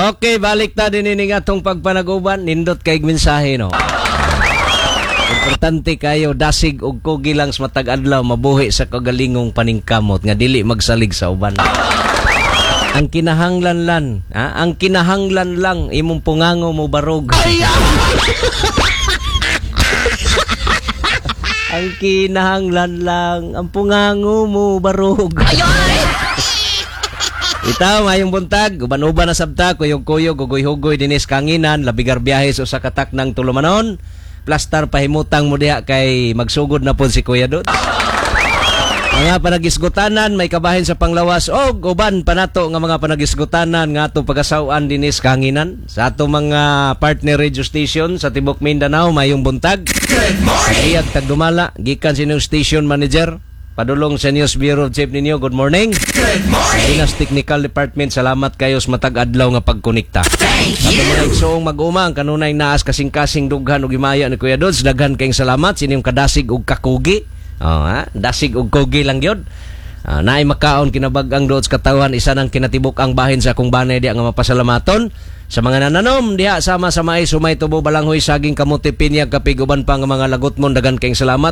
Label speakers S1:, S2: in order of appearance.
S1: Okay, balik ta din ini nga atong pagpanaguban. Nindot kay mensahe, no. Importante kayo dasig og kugi lang sa matag adlaw mabuhi sa kagalingong paningkamot nga dili magsalig sa uban. Ang kinahanglan lang, ha? Ang kinahanglan lang imong pungango mo barog. Ang kinahanglan lang ang pungango mo barog. Itaw, mayong buntag, uban-uban na sabta, kuyog-kuyog, hugoy-hugoy, dinis kanginan, labigar biyahe sa usa ka taknang tulumanon, plastar pahimutang mo diha kay magsugod na po si Kuya Dod. Mga panagisgutanan, may kabahin sa panglawas og uban panato nga mga panagisgutanan nga atong pagasaw-an dinis kanginan sa atong mga partner radio station sa tibok Mindanao, mayong buntag. Good morning. Tagdumala, gikan sa inyong station manager, padulong sa News Bureau Chief ninyo, good morning. Good morning. Dinas Technical Department, salamat kayo sa matag adlaw nga pagkonekta. Thank you. Mga igsoong mag-uma, ang kanunay naas kasing-kasing dughan og himaya ni Kuya Dodds, daghan kayong salamat sa inyong kadasig og kakugi. Oh, ha? Dasig og kugi lang gyud. Ah, naay makaon kinabag-ang dood sa katawhan, isa nang kinatibuk ang bahin sa akong banay diha nga mapasalamaton sa mga nananom diha sama sa mais, sumay, tubo, balanghoy, saging, kamote, pinya, kapig, uban pa nga mga lagot mo, dagan kayong salamat.